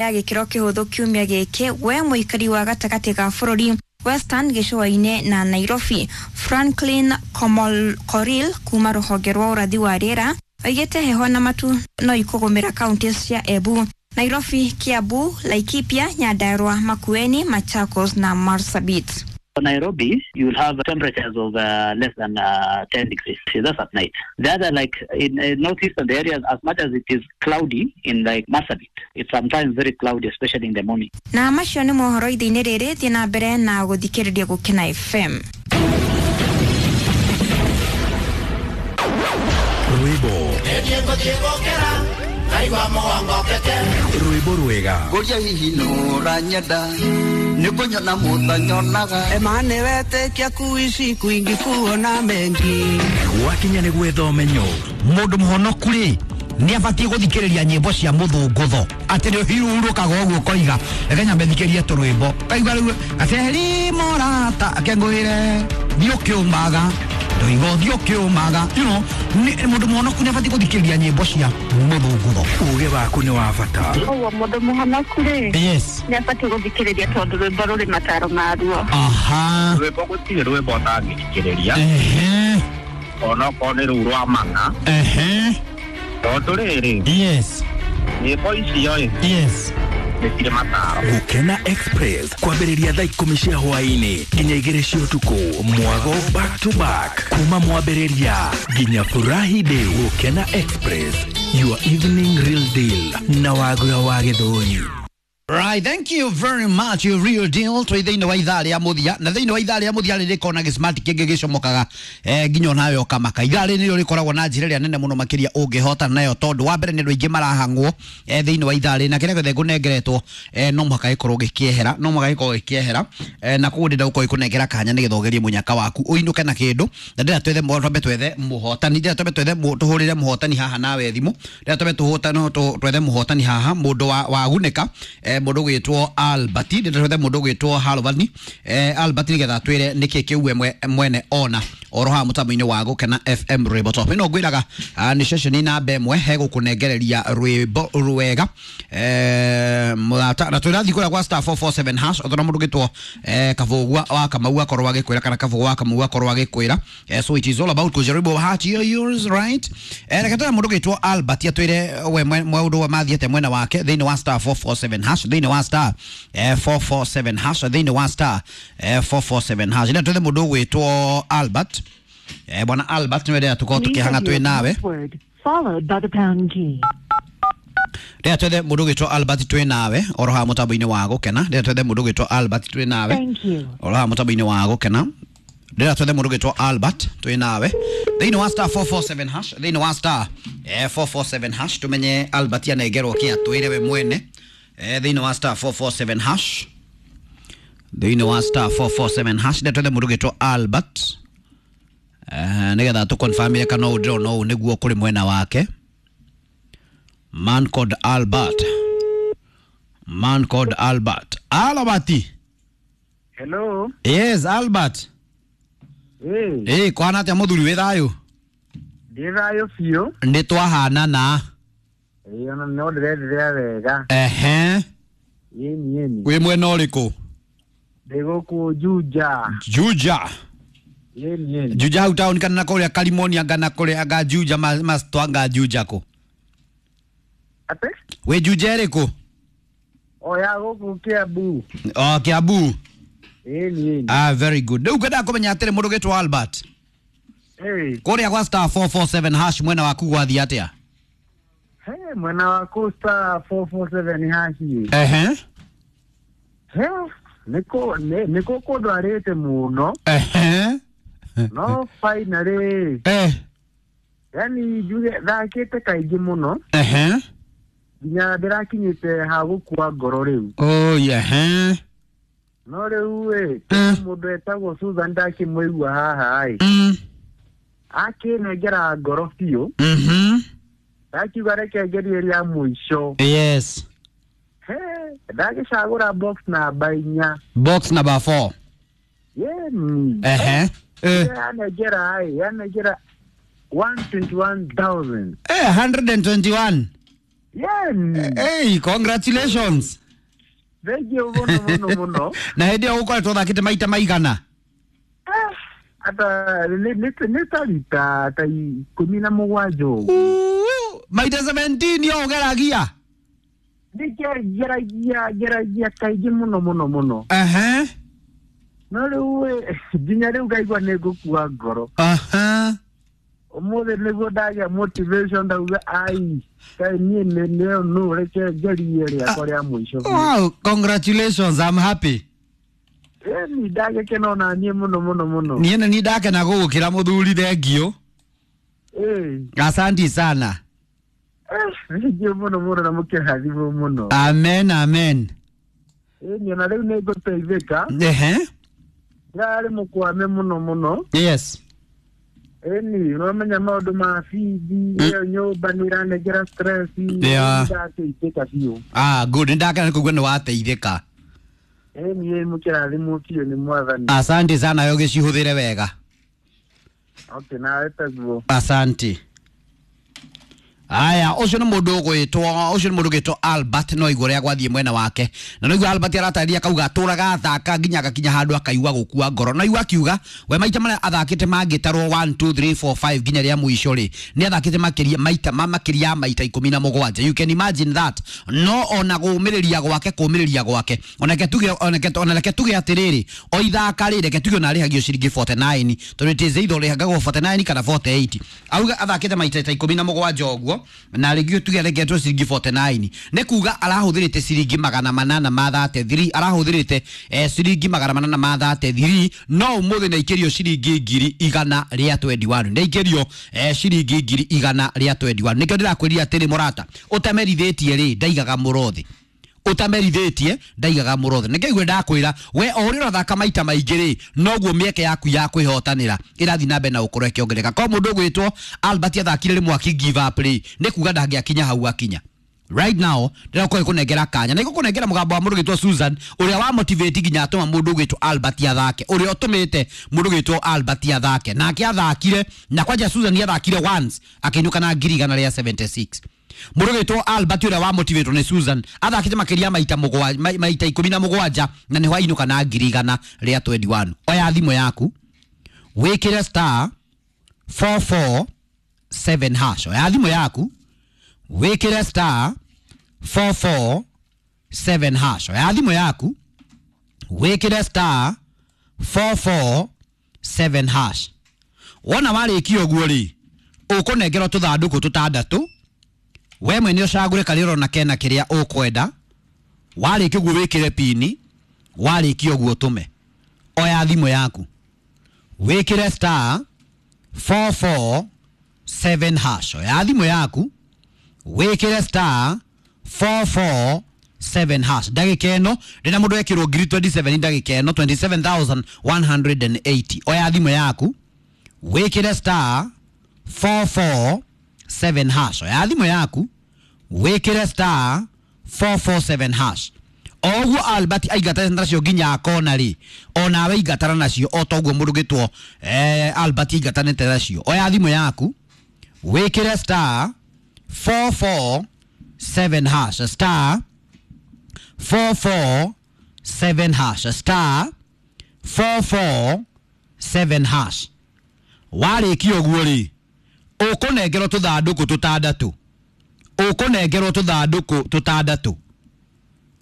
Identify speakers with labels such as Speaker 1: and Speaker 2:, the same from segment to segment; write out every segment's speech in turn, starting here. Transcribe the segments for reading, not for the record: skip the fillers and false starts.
Speaker 1: Ya gĩkĩro kĩhũthũ kiumia gĩkĩ we mũikari wa gatagatĩ ga bũrũri, Western, gĩcũa-inĩ na Nairobi. Franklin Komol Koril kuma rũhonge rwa ũrathi wa rĩera oigĩte heho na matu no ikũgũmĩra kaunti cia Embu, Nairobi, Kiambu, Laikipia, Nyandarua, Makueni, Machakos na Marsabit.
Speaker 2: Nairobi, you will have temperatures of less than 10 degrees. That's at night. The other, like in northeastern areas, as much as it is cloudy in like Marsabit, it's sometimes very cloudy, especially in the morning.
Speaker 1: Na macio nĩ mohoro ithe-inĩ rĩrĩ. Thiĩ na mbere na gũthikĩrĩria Gũkena FM.
Speaker 3: Rwĩmbo rwĩmbo rwega.
Speaker 4: Ngũria hihi nũranyenda nĩ kũnyona mũtanyonaga.
Speaker 5: Emane wetĩkia kuishi kwingi kuona mengi.
Speaker 3: Gwakinya nĩ gwetha ũmenyo.
Speaker 6: Mũndũ mũhonoku rĩ, nĩ abatiĩ gũthikĩrĩria nyĩmbo cia mũthũngũtho atĩ nĩ ũhurũkaga ũguo ũkoiga reke nyambe thikĩrie tũrwĩmbo kaigua rĩu atĩ morata akengũĩre thiĩ ũkĩũmaga ndoiga ũthiĩ ũkĩũmaga mũndũ mũhonoku nĩ abatiĩ gũthikĩrĩria nyĩmbo cia mũthũngũtho.
Speaker 3: Uge waku nĩ wa bata.
Speaker 7: Koguo mũndũ mũhonoku rĩ,
Speaker 6: yes,
Speaker 7: nĩ abatiĩ gũthikĩrĩria tondũ rwĩmbo rũrĩ mataro maruo.
Speaker 6: Aha.
Speaker 8: Rwĩmbo gũtirĩ rwĩmbo ũtangĩthikĩrĩria,
Speaker 6: ehe,
Speaker 8: onokorwo nĩ rũu rwa mana,
Speaker 6: ehe,
Speaker 8: tondũ rĩrĩ,
Speaker 6: yes,
Speaker 8: nyĩmbo icio ĩ,
Speaker 6: yes,
Speaker 8: nĩ cirĩ mataro.
Speaker 3: Gũkena Express kwambĩrĩria thaa 10 cia hwaĩ-inĩ nginya 2 cia ũtukũ, mwago back to back kuma mwambĩrĩria nginya furahi day. Gũkena Express, your evening real deal na Wagura wa Gĩthũri.
Speaker 6: Right, thank you very much. You real deal. Twĩ thĩinĩ wa ithaa rĩa mũthia na thĩinĩ wa ithaa rĩa mũthia rĩ rĩkoragwo na gĩsmart kĩngĩ gĩcomokaga nginya onawe ũkamaka. Ithaa rĩrĩ nĩrĩo rĩkoragwo na njĩra ĩrĩa nene mũno makĩria ũngĩhotana nayo tondũ wa mbere nĩ andũ aingĩ marahang'wo thĩinĩ wa ithaa rĩrĩ na kĩrĩa gĩothe ngũnengeretwo no mũhaka gĩkorwo gĩkĩehera, no mũhaka gĩkorwo gĩkĩehera na koguo ndĩrenda gũkorwo ikũnengera kanya nĩgetha ũgerie mũnyaka waku ũinũke na kĩndũ na ndĩrenda twethe twambe twethe mũhotani, ndĩrenda twambe twethe tũhũrĩre mũhotani haha nawe thimũ, ndĩrenda twambe twethe mũhotani haha mũndũ wagunĩka mũndũ ũgwĩtwo Albert, ndĩrenda twethe mũndũ ũgwĩtwo Halvani, Albert nĩgetha atwĩre nĩkĩ kĩu we mwene ona oro haha mũtambo-inĩ wa Gũkena FM Rwĩmbo Top. Ĩno ngwĩraga nĩ ceceni namba ĩmwe hegũkũnengereria rwĩmbo rwega mũrata na twĩrathiĩ kũrĩa gwa *447# ũtona mũndũ ũgĩtwo Kabũgua wa Kamau akorwo agĩkwĩra kana Kabũgua wa Kamau akorwo agĩkwĩra so it is all about kujaribu bahati yours, right? Reke tuone mũndũ ũgĩtwo Albert atwĩre we maũndũ mathiĩte mwena wake thĩinĩ wa *447# thĩinĩ wa *447# thĩinĩ wa *447#. Nĩ twethe mũndũ ũgwĩtwo Albert, bwana Albert nĩwe ndĩrenda tũkorwo tũkĩhang'a twĩ nawe.
Speaker 7: Followed by the pound key.
Speaker 6: Ndĩrenda twethe mũndũ ũgwĩtwo Albert twĩ nawe oro haha mũtambo-inĩ wa Gũkena. Ndĩrenda twethe mũndũ ũgwĩtwo Albert twĩ nawe
Speaker 7: Thank you.
Speaker 6: oro haha mũtambo-inĩ wa Gũkena. Ndĩrenda twethe mũndũ ũgwĩtwo Albert twĩ nawe thĩinĩ wa *447# thĩinĩ wa *447# tũmenye Albert anengerwo kĩ atwĩre we mwene thĩinĩ wa *447# thĩinĩ wa *447#. Ndĩrenda twethe mũndũ ũgwĩtwo Albert nĩgetha tũkonfamire kana ũũ ndĩrona ũũ nĩguo kũrĩ mwena wake. Man called Albert, man called Albert, Albert.
Speaker 8: Hello.
Speaker 6: Yes, Albert.
Speaker 8: Ĩ.
Speaker 6: Kwana atĩa mũthuri, wĩ thayũ?
Speaker 8: Ndĩ thayũ biũ.
Speaker 6: Nĩ twahanana.
Speaker 8: Ĩ, ona no ndĩrenderea wega.
Speaker 6: Ehe.
Speaker 8: Ĩni ĩni.
Speaker 6: Wĩ mwena ũrĩkũ?
Speaker 8: Ndĩ gũkũ Juja.
Speaker 6: Juja?
Speaker 8: Ĩni ĩni.
Speaker 6: Juja hau taũni kana na kũrĩa Karimoni anga na kũrĩa anga Juja mastwanga Juja kũ?
Speaker 8: Atĩ?
Speaker 6: Wĩ Juja ĩrĩkũ?
Speaker 8: O ya gũkũ Kiambu.
Speaker 6: O Kiambu.
Speaker 8: Ĩni ĩni.
Speaker 6: Ah, very good. Rĩu ngwendaga kũmenya atĩrĩ, mũndũ ũgĩtwo Albert,
Speaker 8: Ĩ.
Speaker 6: kũrĩa gwa *447# mwena waku gwathiĩ atĩa?
Speaker 8: He, mwena waku *447#.
Speaker 6: Ehe.
Speaker 8: He, nĩkũ kũndwarĩte mũno.
Speaker 6: Ehe.
Speaker 8: No finally, yani njuge thakĩte kaingĩ mũno
Speaker 6: Ehe.
Speaker 8: nginya ndĩrakinyĩte ha gũkua ngoro rĩu.
Speaker 6: Oh, ehe.
Speaker 8: No rĩu ĩ, mũndũ etagwo Susan ndakĩmũigua haha ĩ, akĩnengera ngoro biũ. Ndakiuga reke ngerie rĩa mũico.
Speaker 6: Yes.
Speaker 8: He, ndagĩcagũra box namba 4.
Speaker 6: Box number 4.
Speaker 8: Yeni.
Speaker 6: Ehe.
Speaker 8: Yanengera ĩ, yanengera 121,000.
Speaker 6: 121.
Speaker 8: Yen.
Speaker 6: Hey, congratulations.
Speaker 8: Thank you muno muno muno.
Speaker 6: Na hĩndĩ ĩyo ũkoretwo ũthakĩte maita maigana?
Speaker 8: Ata nĩ ta rita ta 17 ũguo.
Speaker 6: Maita 17 yo ũgeragia?
Speaker 8: Nĩ ngeragia kaingĩ muno muno muno.
Speaker 6: Ehe.
Speaker 8: No rĩu nginya rĩu ngaigua nĩ ngũkua ngoro.
Speaker 6: Aha.
Speaker 8: Ũmũthĩ nĩguo ndagĩa motivation ndauga ai kaĩ niĩ nĩ no reke ngerie rĩakwa rĩa mũico.
Speaker 6: Wow, congratulations, I'm happy.
Speaker 8: Ĩni ndagĩkena ona niĩ mũno mũno mũno.
Speaker 6: Niĩ nĩ niĩ ndakena gũgũkĩra mũthuri, thengio. Asanti sana.
Speaker 8: Thengio mũno mũno na mũkĩrathimwo mũno.
Speaker 6: Amen, amen.
Speaker 8: Ĩni ona rĩu nĩ ngũteithĩka.
Speaker 6: Ehe.
Speaker 8: Ndĩrarĩ mũkwame mũno mũno.
Speaker 6: Yes.
Speaker 8: Ĩni ũramenya maũndũ ma bithi ĩyo nyũmba nĩ ĩranengera stress.
Speaker 6: Yeah.
Speaker 8: Ndateithĩka biũ.
Speaker 6: Ah, good, nĩ ndakena nĩ kũigua nĩ wateithĩka.
Speaker 8: Ĩni mũkĩrathimwo biũ nĩ Mwathani.
Speaker 6: Asante sana, yo gĩcihũthĩre wega.
Speaker 8: Okay, nawe taguo.
Speaker 6: Asante. Aya, ũcio nĩ mũndũ ũgwĩtwo, ũcio nĩ mũndũ ũgwĩtwo Albert, no igua ũrĩa gwathiĩ mwena wake. Na no igua Albert aratarĩria akauga atũraga athaka nginya agakinya handũ akaigua gũkua ngoro. No igua akiuga we maita marĩa athakĩte mangĩtarwo 1 2 3 4 5 nginya rĩa mũico rĩ, nĩ athakĩte makĩria maita makĩria ya maita 17. You can imagine that. No ona kũũmĩrĩria gwake, kũũmĩrĩria gwake, onake tuge, onake onake tuge atĩrĩrĩ, o ithaka rĩ, reke tuge ona arĩhagio ciringi 49, tondũ it is either ũrĩhagagwo 49 kana 48. Auga athakĩte maita ta 17 ũguo, na rĩngĩ tuge arengetwo ciringi 49, nĩ kuga arahũthĩrĩte ciringi 833, arahũthĩrĩte ciringi 833, no ũmũthĩ nĩ aikĩrio ciringi 121, nĩ aikĩrio ciringi 121. Nĩkĩo ndĩrakwĩrire atĩrĩ mũrata, ũtamerithĩtie rĩ, ndaigaga mũrothi. Ũtamerithĩtie ndaigaga mũrothi. Nĩkĩo ndakwĩra we o ũrĩa ũrathaka maita maingĩ rĩ, noguo mĩeke yaku ya kwĩhotanĩra ĩrathiĩ na mbere na gũkorwo ĩkĩongerereka. Kwa mũndũ ũgwĩtwo Albert athakire rĩmwe aki give up rĩ, nĩ kuga ndangĩakinya hau akinya. Right now ndĩrakorwo ĩkũnengera kanya na ĩgũkũnengera mũgambo wa mũndũ ũgwĩtwo Susan, ũrĩa wa motivate nginya atũma mũndũ ũgwĩtwo Albert athake, ũrĩa ũtũmĩte mũndũ ũgwĩtwo Albert athake, nake athakire na kwanja Susan athakire once akĩinũka na 176. Mũndũ ũgwĩtwo Albert ũrĩa wa motivate nĩ Susan athakĩte makĩria maita mũgwanja, maita 17, na nĩho ainũka na 121. Oya thimũ yaku wĩkĩre star 447 hash. Oya thimũ yaku wĩkĩre star 447 hash. Oya thimũ yaku wĩkĩre star 447 hash. Wona warĩkia ũguo rĩ, ũkũnengerwo tũthandũkũ tũtandatũ, we mwene ũcagũre karĩa ũrona kena kĩrĩa ũkwenda. Warĩkia ũguo wĩkĩre pini, warĩkia ũguo ũtũme. Oya thimũ yaku wĩkĩre star 447 hash. Oya thimũ yaku wĩkĩre star 447 hash. Ndagĩka ĩno ndĩna mũndũ ekĩrwo 27,000, ndagĩka ĩno 27,180. Oya thimũ yaku wĩkĩre star 447 hash. Oya thimũ yaku wĩkĩre star 447 hash. Oguo Albert aingatana nacio nginya akona rĩ, onawe ingatana nacio o toguo mũndũ ũgĩtwo Albert aingatanĩte nacio. Oya thimũ yaku wĩkĩre star 447 hash, star 447 hash, star 447 hash. Warĩkia ũguo rĩ, ũkũnengerwo tũthandũkũ tũtandatũ, ũkũnengerwo tũthandũkũ tũtandatũ.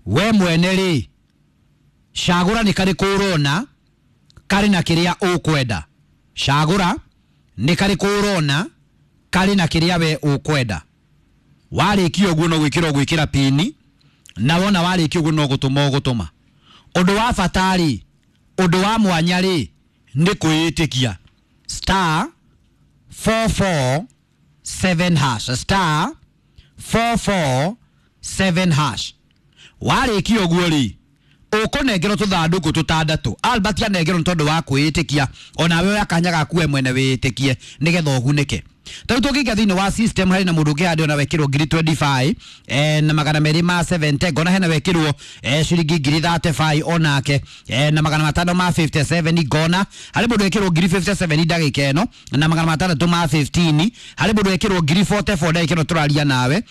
Speaker 6: We mwene rĩ, cagũra nĩ karĩkũ ũrona karĩ na kĩrĩa ũkwenda. Cagũra nĩ karĩkũ ũrona karĩ na kĩrĩa we ũkwenda. Warĩkia ũguo no gwĩkĩra ũgwĩkĩra pini, na wona warĩkia ũguo no gũtũma ũgũtũma. Ũndũ wa bata rĩ, ũndũ wa mwanya rĩ, nĩ kwĩĩtĩkia. Star 447 hash, star 447 hash. Warĩkia ũguo rĩ, ũkũnengerwo tũthandũkũ tũtandatũ. Albert anengerwo nĩ tondũ wa kwĩĩtĩkia, onawe oya kanya gaku we mwene wĩĩtĩkie nĩgetha ũgunĩke. Tarĩu tũngĩingĩra thĩinĩ wa system, harĩ na mũndũ ũngĩ handĩ ona wekĩrwo ngiri 25 na magana merĩ ma 70. Ngona hena wekĩrwo ciringi ngiri 35 onake na magana matano ma 57. Ngona harĩ mũndũ wekĩrwo ngiri 57 ndagĩka ĩno na magana matandatũ ma 15. Harĩ mũndũ wekĩrwo ngiri 44 ndagĩka ĩno tũraria nawe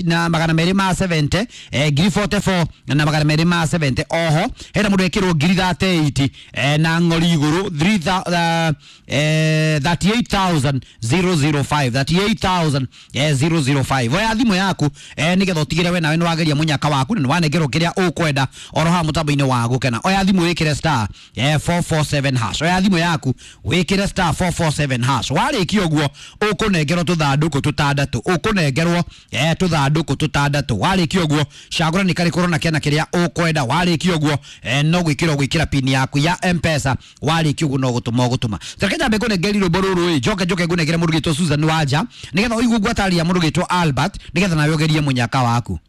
Speaker 6: na magana merĩ ma 70, ngiri 44 na magana merĩ ma 70. Oho hena mũndũ wekĩrwo ngiri 38 na ng'ori igũrũ, 38,005, 38,005. Oya thimũ yaku nĩgetha ũtigĩre we nawe nĩwageria mũnyaka waku na nĩwanengerwo kĩrĩa ũkwenda oro haha mũtambo-inĩ wa gũkena. Oya thimũ wĩkĩre star 447 hash. Oya thimũ yaku wĩkĩre star 447 hash. Warĩkia ũguo, ũkũnengerwo tũthandũkũ tũtandatũ, ũkũnengerwo tũthandũkũ tũtandatũ. Warĩkia ũguo, cagũra nĩ karĩkũ ũrona kena kĩrĩa ũkwenda. Warĩkia ũguo, no gwĩkĩra ũgwĩkĩra pin yaku ya Mpesa. Warĩkia ũguo, no gũtũma ũgũtũma. Reke nyambe ngũnengeri rwĩmbo rũrũ ĩ, njoke njoke ngũnengere mũndũ gĩtwo Susan Wanja, nĩgetha ũigue ngwataria mũndũ gĩtwo Albert, nĩgetha nawe ũgerie mũnyaka waku.